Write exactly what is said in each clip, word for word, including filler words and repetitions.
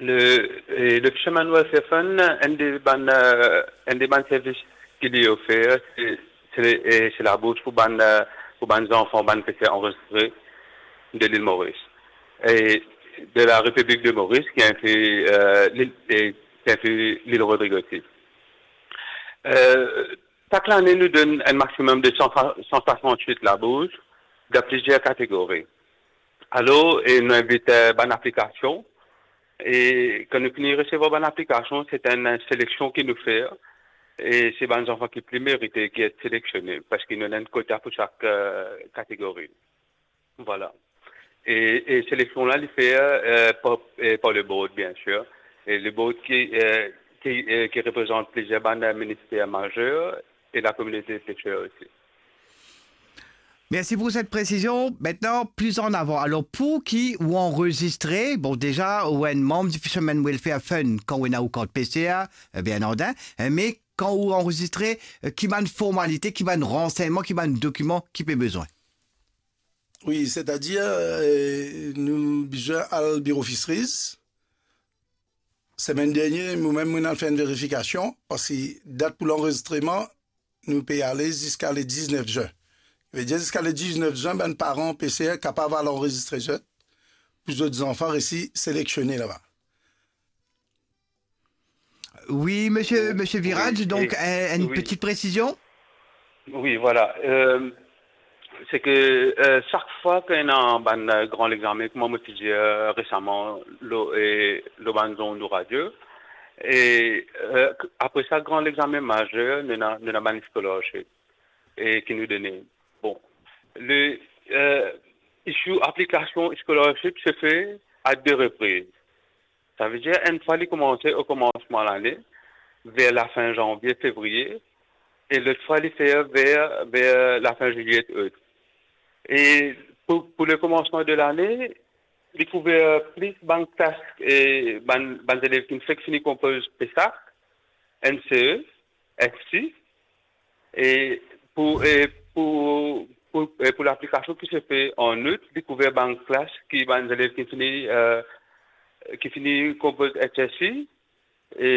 Le, e, le Fisherman Welfare Fund, enn de bann, e, enn de bann servis ki li ofer, se, se, e, se labours pou bann, e, pou bann zanfan, bann peser anrezistre de lil Moris. E de la Repiblik de Moris, ki inkli, e, lil, e, ki inkli lil Rodrig osi. E, sak lane, nou donn enn maximum de san, san swasannwit labours dan plizier kategori. Alor, e nou invit, e, bann aplikasion, e kan nou fini resevwar bann aplikasion, se enn seleksion ki nou fer, e se bann zanfan ki pli merite ki et seleksionnen, parski nou ena enn kota pou sak, e, kategori. Vwala. E, e seleksion la, li fer, e, par, e, par le board, bien sir. E le board ki, e, ki, e, ki reprezant plizier bann, e, minister mazer e lakominote peser osi. Mersi pou set presizion. Aster, pli an avan, alor, pou ki ou anrezistre, bon, deza, ou enn manm di Fisherman Welfare Fund, kan ou ena ou kart peser, e, bien antann, e, me kan ou anrezistre, e, ki bann formalite, ki bann ransegnman, ki bann dokiman ki pe bezwin? Wi, setadir, e, nou bizin al biro Fisheries. Semenn dernie, mo mem, mo'nn al fer enn verifikasion, parski dat pou lanrezistreman, nou pe ale ziska le diznef zin. Vedir ziska le diznef zin, bann paran peser kapav al anrezistre zot, pou zot zanfan resi seleksionnen laba. Wi, misie, misie Viraj, donk, e, enn ti presizion? Wi, vwala. E, se ke, e, sak fwa ki ena bann, e, gran legzame, kouma mo ti dir, e, resaman, lor, e, lor bann zond ou radio, e, e, apre sa, gran legzame mazer, nou ena, nou ena bann scholarship, e, ki nou done. Bon, le, e, issue aplikasion scholarship se fer a de repriz. Savedir, enn fwa li koumanse o koumansman lane, ver lafin zanvie, fevriye, e lot fwa li fer ver, ver lafin zilie, out. E pou, pou le koumansman de lane, li kouver plis bann klas, e bann, bann zelev ki fek fini konpoz PESAC, NCE, FC, e pou, e pou, pou, e pou laplikasion ki se fer an out, li kouver bann klas ki bann zelev ki fini, e, ki fini konpoz HSC, e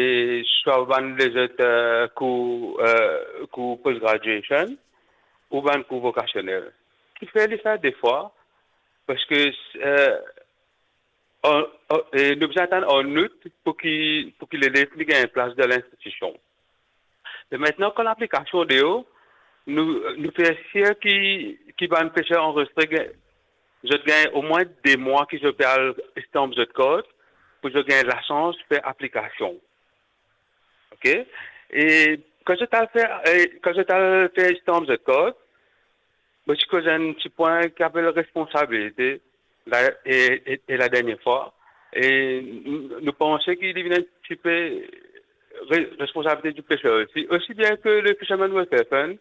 swa bann lezot, e, kour, e, kour post graduation, ou bann kour vokasionel. Kifer li fer de fwa? Parski, e, an, an, e nou bizin atann an out pou ki, pou ki lelev li gagn plas dan linstitision. Me aster, kan laplikasion deor, nou, nou fer sir ki, ki bann peser anrezistre gagn, zot gagn omwin de mwa ki zot pe al stamp zot kart, pou zot gagn lasans fer aplikasion. Ok? E kan zot al fer, e kan zot al fer stamp zot kart, mo ti koz enn ti pwin ki apel responsabilite, la, e, e, e la dernie fwa, e n-, nou panse ki li vinn enn tipe re-, responsabilite di peser osi, osi bien ki le Fisherman Welfare Fund,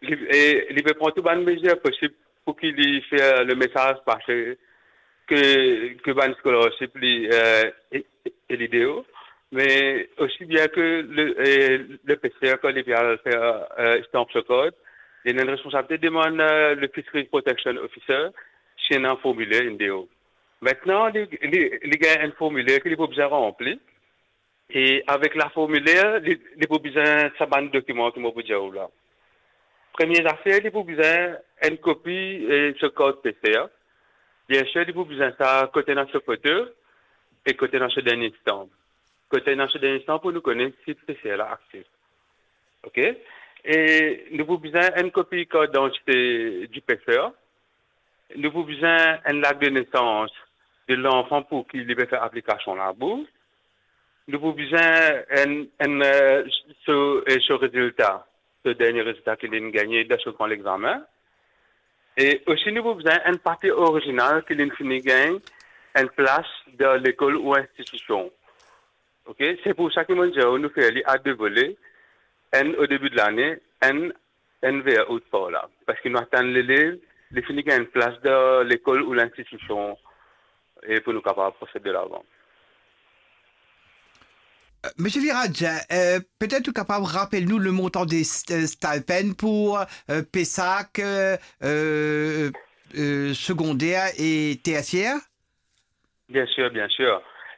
li, e, li pe pran tou bann mezir posib pou ki li fer le mesaz pase ke, ke bann scholarship li, e, e, e li deor, me osi bien ki le, e, le peser, kan li pe al fer, e, stamp so kart, li ena enn responsabilite demann, e, le Fisheries Protection Officer si ena formiler inn deor. Aster, li, li, li gagn enn formiler ki li pou bizin ranpli, e avek laformiler, li, li pou bizin sa bann dokiman ki mo pou dir ou la. Premie zafer, li pou bizin enn kopi, e, so kart peser. Bien sir, li pou bizin sa kot ena so foto e kot ena so dernie stamp. Kot ena so dernie stamp pou nou kone si peser la aktif. Ok? E nou pou bizin enn kopi kart didantite di peser. Nou pou bizin enn lak de nesans de lanfan pou ki li pe fer aplikasion labours. Nou pou bizin enn, enn, e, so, e, so rezilta, so dernie rezilta ki li'nn gagne dan so gran legzame. E osi nou pou bizin enn papie orizinal ki li'nn fini gagn enn plas dan lekol ou institision. Ok? Se pou sa ki mo dir ou, nou fer li a de vole, enn o debi de lane, enn, enn ver out par la. Parski nou atann lelev li fini gagn enn plas dan lekol ou linstitision, e pou nou kapav prosed de lavan. E, misie Viraj, e, petet ou kapav rapel nou le montan de st-, e, stipend pou, e, pesac, e, e, e, segonder e tersier? Bien sir, bien sir.